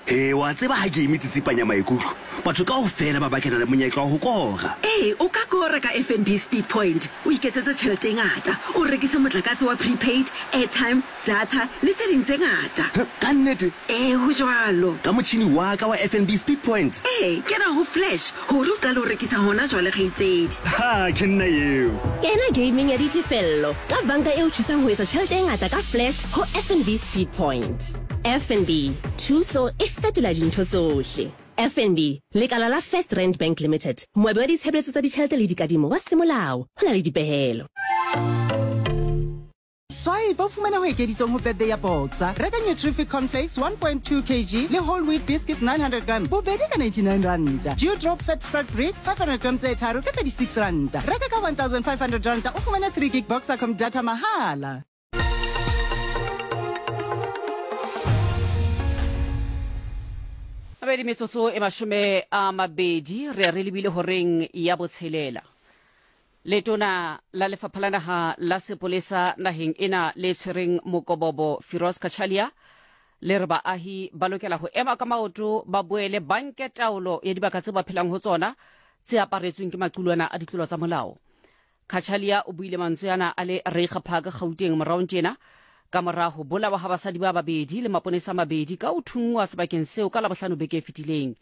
Ee, wa tseba ha game e tsitsipanya maikutlo, batho kaofela ba bakena le monyetla wa ho kora. Ee, o ka kora ka FNB Speed Point, o iketsetse tjhelete e ngata, o rekise motlakase wa prepaid, airtime, data le tse ding tse ngata. Huh, ka nnete? Ee, ho jwalo. Ka motjhini wa ka wa FNB Speed Point? Ee, kena ho Flash hore o qale ho rekisa hona jwale, kgaitsedi. Ha, ke nna eo. Kena gameng ya ditefello ka banka e o thusang ho etsa tjhelete e ngata ka Flash ho FNB Speed Point. FNB, thuso e fetola dintho tsohle. FNB, lekala la First Rand Bank Limited, moabi wa ditshebeletso tsa ditjhelete le dikadimo wa semolao, ho na le dipehelo. Swipe o fumane ho ekeditsweng ho birthday ya Boxer. Reka Nutrific Cornflakes 1.2 kg le Whole Wheat Biscuits 900 gram bobedi ka 99 ranta. Dewdrop Fat Spread Brick 500 gram tse tharo ka 36 ranta. Reka ka 1500 ranta o fumane 3 gig Boxercom data mahala. Mabedi metsotso e mashome a mabedi re re lebile horeng ya botshelela. Letona la lefapha la naha la sepolesa naheng ena le tshwereng mokobobo Firoz Cachalia le re baahi ba lokela ho ema ka maoto ba boele ba nke taolo ya dibaka tse ba phelang ho tsona tse aparetsweng ke maqulwana a ditlolo tsa molao. Cachalia o buile mantswe ana a le Reiger Park, Gauteng moraong tjena ka mora ho bolawa ha basadi ba babedi le maponesa a mabedi ka ho thunngwa sebakeng seo ka Labohlano beke e fetileng.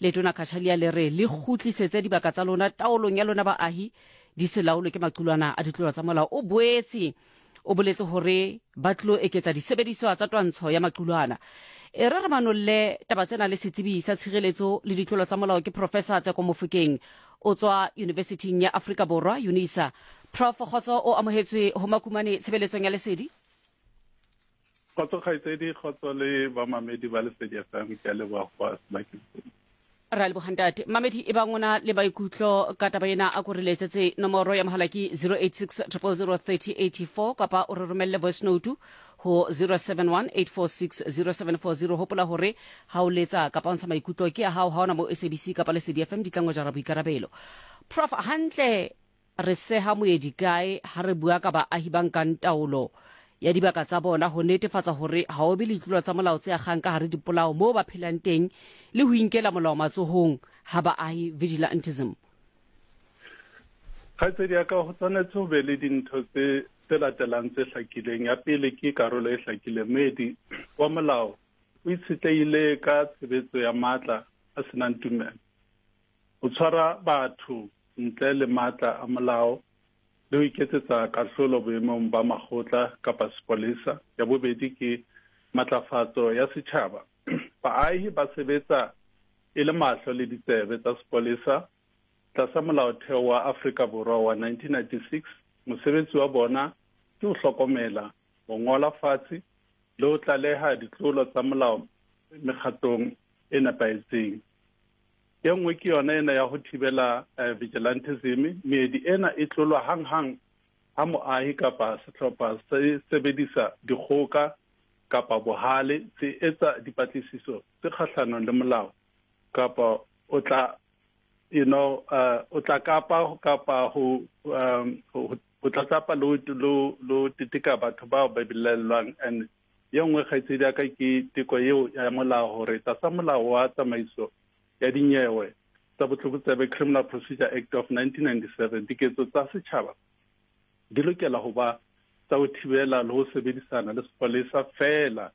Letona Cachalia le re le kgutlisetse dibaka tsa lona taolong ya lona baahi di se laolwe ke maqulwana a ditlolo tsa molao. O boetse O boletse hore ba tlo eketsa disebediswa tsa twantsho ya maqulwana. E re re manolle taba tsena le setsebi sa tshireletso le ditlolo tsa molao ke Professor Tseko Mofokeng o tswa Yunivesithing ya Afrika Borwa, Unisa. Prof Kgotso o amohetswe ho Makumane tshebeletsong ya Lesedi. Kgotso kgaitsedi, kgotso le bamamedi ba Lesedi FM, ke a leboha go ba sebakeng sena. Re a leboga ntate. Mamedi e bang o na le maikutlo ka taba ena a ko re letsetse nomoro ya mohala ke 086 000 3084 kapa o re romelle voice note ho 071 846 0740. Hopola hore ha o letsa kapa o ntsha maikutlo ke a hao, ha ona mo SABC kapa Lesedi FM di tla ngojara boikarabelo. Prof hantle Re seha moedi kae ha re bua ka baahi ba nkang taolo ya dibaka tsa bona ho netefatsa hore ha ho be le ditlolo tsa molao tse akgang ka hare dipolao moo ba phelang teng le ho inkela molao matsohong ha baahi vigilantism? Kgaitsedi ya ka, ho tshwanetse ho be le dintho tse tse latelang tse hlakileng. Ya pele ke karolo e hlakileng. Moedi wa molao o itshetlehile ka tshebetso ya matla a senang tumelo. Ho tshwara batho ntle le matla a molao le ho iketsetsa kahlolo boemong ba makgotla kapa sepolesa. Ya bobedi ke matlafatso ya setjhaba. Baahi ba sebetsa e le mahlo le ditsebe tsa sepolesa tlasa Molaotheo wa Afrika Borwa wa 1996. Mosebetsi wa bona ke ho hlokomela, ho ngola fatshe le ho tlaleha ditlolo tsa molao mekgatlong e nepahetseng. E nngwe ke yona ena ya ho thibela eh, vigilantism. Meedi ena e tlolwa hang-hang ha moahi kapa sehlopha se sebedisa dikgoka kapa bohale se etsa dipatlisiso tse kgahlanong le molao kapa o tla you know uh, o tla kapa kapa ho um, ho tlatlapa le lo teteka batho bao ba belaellwang. And ye nngwe kgaitsedi ya ka ke teko eo ya molao hore tlasa molao wa tsamaiso ya dinyewe tsa botlokotsebe, Criminal Procedure Act of 1997, diketso tsa setjhaba di lokela ho ba tsa ho thibela le ho sebedisana le sepolesa feela,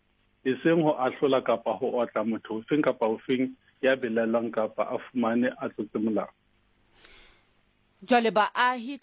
eseng ho ahlola kapa ho otla motho ofeng kapa ofeng ya belaellwang kapa a fumane a tlotse molao. Jwale baahi ka.